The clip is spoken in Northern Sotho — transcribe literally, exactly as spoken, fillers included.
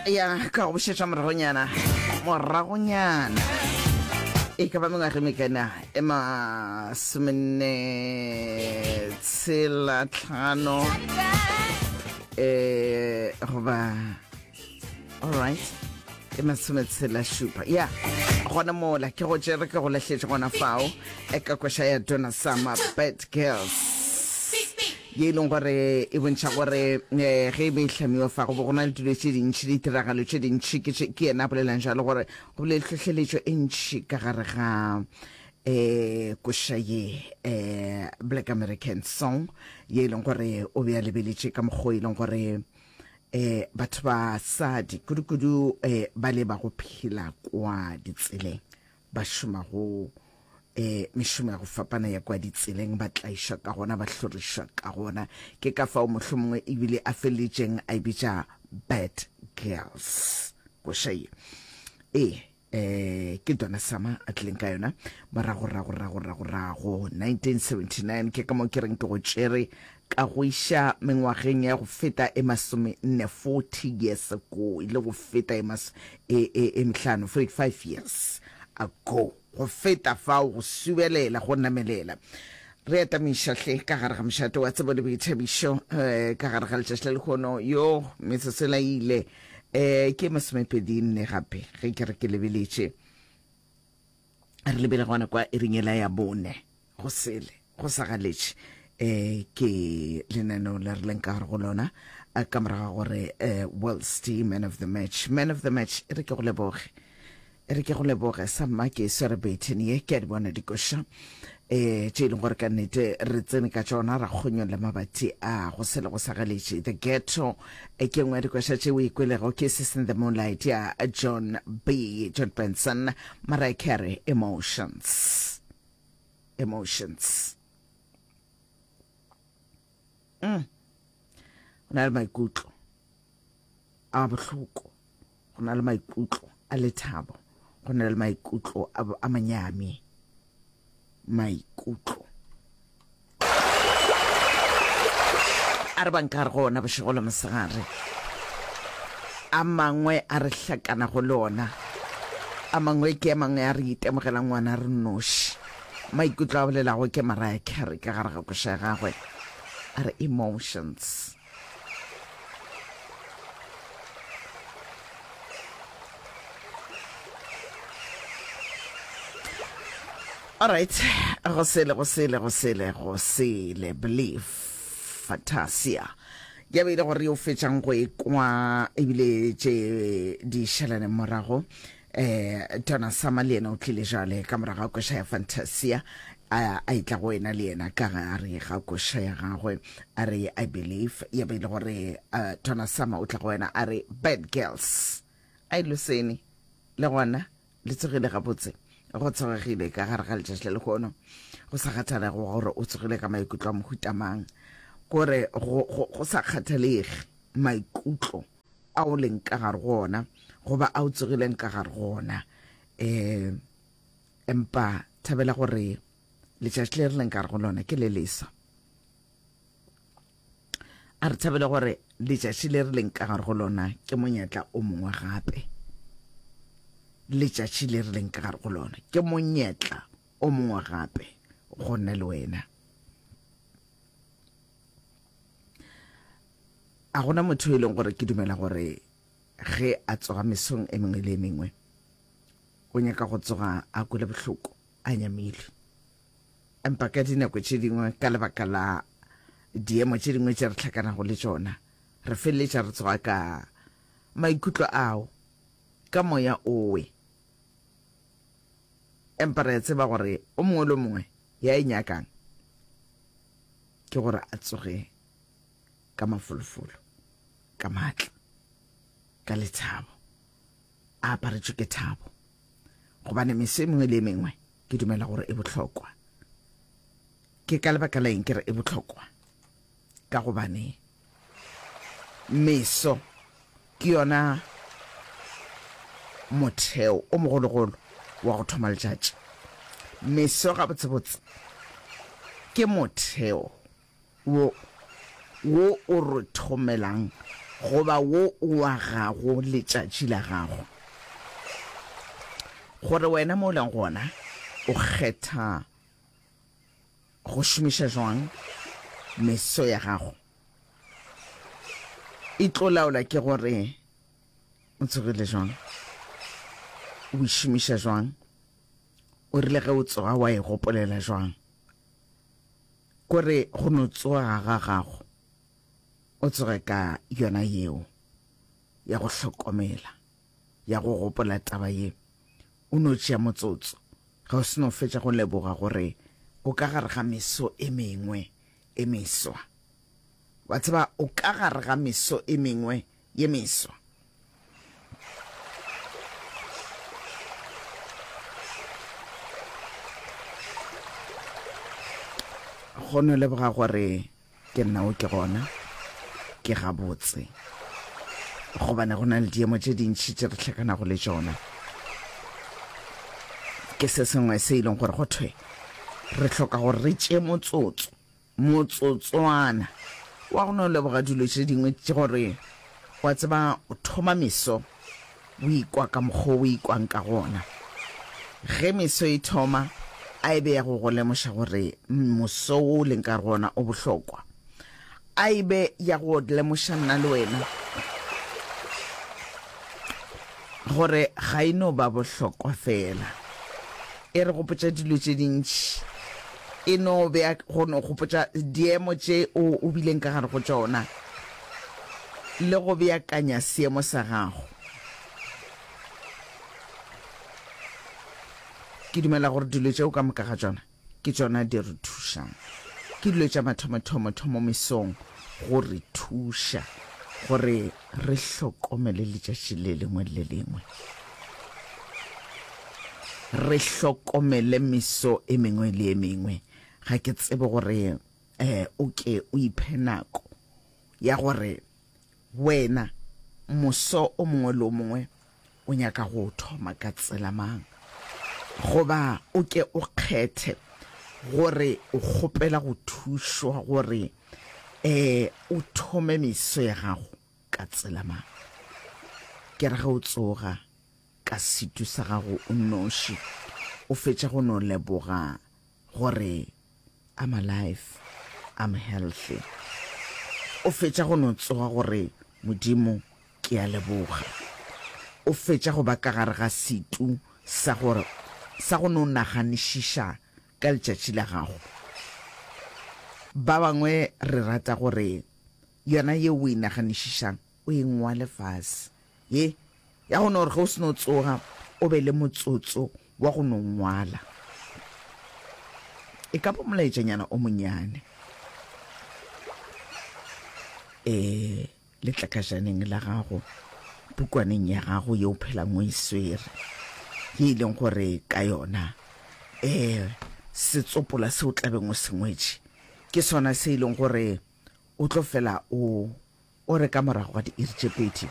Ya ka go bušetša moragonyana, moragonyana e ka ba mengwaga e mekana e masomenne tshela tlhano eh goba alright e masometshela šupa ya gona mola ke go tšere ke go lahletše gona fao e ka koša ya Donna Summer Bad Girls ye e leng gore e bontšha gore eh, ge e be e hlamiwa fa go bo go na le dilo tše dintšhi ditiragalo tše dintšhi ke tše- ke yena a bolelang jalo gore go bile le tlhohleletšo e ntšhi ka gare ga eh koša ye eh Black American Song ye e leng gore o be a lebeletše ka mokgwa o e leng gore eh batho ba sadi kudu-kudu eh ba le ba go phela kwa ditseleng ba šomago eh mešomo ya go fapana ya kwa ditseleng ba tlaišwa ka gona ba hlorišwa ka gona ke ka fao mohlomongwe ebile a feleletšeng a e bitša Bad Girls koša ye ee eh ke Donna Summer a tlileng ka yona morago rago rago rago rago nineteen seventy nine ke ka mo ke reng ke go tšere ka go iša mengwageng ya go feta e masome nne forty years ago e le go feta e mas e e e mehlano forty five years ago go feta fao go subelela go namelela re atamiša hle ka gare ga mošate wa tsebo le boithabišo eh, ka gare ga letšatši la lehono yo metsotso e laile eh ke masomepedi nne gape ge ke re ke lebeletše re lebele gona kwa iring ela ya bone go sele go sa galetše eh ke lenaneo le re leng ka gare go lona eh, ka morago ga gore eh, World's man of the match man of the match e re ke go leboge e re ke go leboge sa mma ke swere baton ye ke a di bona dikoša eh tše e leng gore ka nnete re tsene ka tšona ra kgonyolla mabati a go sele go sa galetše the ghetto e ke nngwe ya dikoša tše o ikwelego ke Sis in the Moonlight ya John B John Benson Mariah Carey emotions emotions mm. go na le maikutlo a bohloko go na le maikutlo a lethabo go na le maikutlo a, a manyami maikutlo a re bang ka gare go ona bošego le mosegare a mangwe a re hlakana go le ona a mangwe ke a mangwe a re itemogela ngwana re noši maikutlo a bolelago ke Mariah Carey ka gare ga koša ya gagwe a re emotions Alright, go sele go sele go sele go sele believe Fantasia ya be ile gore o fetšang go e kwa ebile tše di šalane morago eh Donna Summer le yena o tlile jale ka morago ga koša ya Fantasia a a itla go wena le yena ka gare ga koša ya gagwe a re I believe ya be ile gore uh, Donna Summer o tla go wena a re Bad Girls a e losene le gona le tsogile gabotse go tsogegile ka gare ga letšatši le lehono go sa kgathalege gore o tsogile ka maikutlo a mohutamang kore go, go, go sa kgathalege maikutlo a o leng ka gare go ona goba a o tsogileng ka gare go ona um empa thabela gore letšatši le re leng ka gare go lona ke le lesa a re thabele gore letšatši le re leng ka gare go lona ke monyetla o mongwe gape letšatši le re leng ka gare go lona ke monyetla o mongwe gape go nna le wena a gona motho e leng gore ke dumela gore ge a tsoga mesong e mengwe le e mengwe o nyaka go tsoga a kwele bohloko a nyamile empa ka dinako tše dingwe ka lebaka la diemo tše dingwe tše re hlakanago le tšona re feleletša re tsoga ka maikutlo ao ka moya owe empa re a tseba gore o mongwe le o mongwe ya e nyakang ke gore a tsoge ka mafolofolo ka maatla ka lethabo a aparetšwe ke thabo gobane meso e mengwe le e mengwe ke dumela gore e bohlokwa ke ka lebaka la eng ke re e bohlokwa ka gobane meso ke yona motheo o mogologolo wa go thoma letšatši meso gabotsebotse ke motheo wo wo o re thomelang goba wo o agago letšatši la gago. Gore wena mo o leng gona o kgetha go šomiša jwang meso ya gago e tlo laola ke gore o tsogile jwang, o e šomiša jwang, o rile ge o tsoga wa e gopolela jwang. Kore go no tsoga ga gago o tsoge ka yona yeo ya go hlokomela, ya go gopola taba ye, o no tšea motsotso ge o se no fetša go leboga gore o ka gare ga meso e mengwe e meswa. Wa tseba, o ka gare ga meso e mengwe ye meswa. Go no leboga gore ke nna o ke gona, ke gabotse, gobane go na le diemo tše dintši tše re hlakanago le tšona. Ke se sengwe se e leng gore go thwe re hloka gore re tšee motsotso, motsotswana wa go no leboga dilo tše dingwe tše gore wa tseba o thoma meso o ikwa ka mokgwa o ikwang ka gona. Ge meso e thoma, a e be ya go go lemoša gore moso wo o leng ka go ona o bohlokwa. A e be ya go lemoša nna le wena gore ga e no ba bohlokwa fela. E re gopotša dilo tše dintši. E no bea go no gopotša diemo tše o, o bileng ka gare go tšona le go beakanya seemo sa gago. Ke dumela gore dilo tšeo ka moka ga tšona ke tšona di re thušang. Ke dilo tša mathomothomo-thomo mesong go re thuša gore re hlokomele letšatši le lengwe le le lengwe. Re hlokomele meso e mengwe le e mengwe. Ga ke tsebe gore um o ke o iphe nako ya gore wena moso o mongwe le o mongwe o nyaka go o thoma ka tsela mang, goba o ke o kgethe gore o kgopela go thušwa gore um o thome meso ya gago ka tsela mang. Ke re ge o tsoga ka setu sa gago o nnoši, o fetša go no leboga gore I'm alive, I'm healthy. O fetša go no tsoga gore Modimo ke a leboga. O fetša go ba ka gare ga setu sa gore sa go no naganišiša ka letšatši la gago. Ba bangwe re rata gore yona yeo o e naganišišang o e ngwale fase. Ye ya go no gore ge o se no tsoga o be le motsotso wa go no ngwala. E ka ba molaetšanyana o monnyane e letlakajaneng la gago, pukwaneng ya gago ye o phelang o e swere, ye e leng gore ka yona um setsopola se o tlabeng o se ngwetše ke sona se e leng gore o tlo fela o o re ka morago ga diiri tše pedi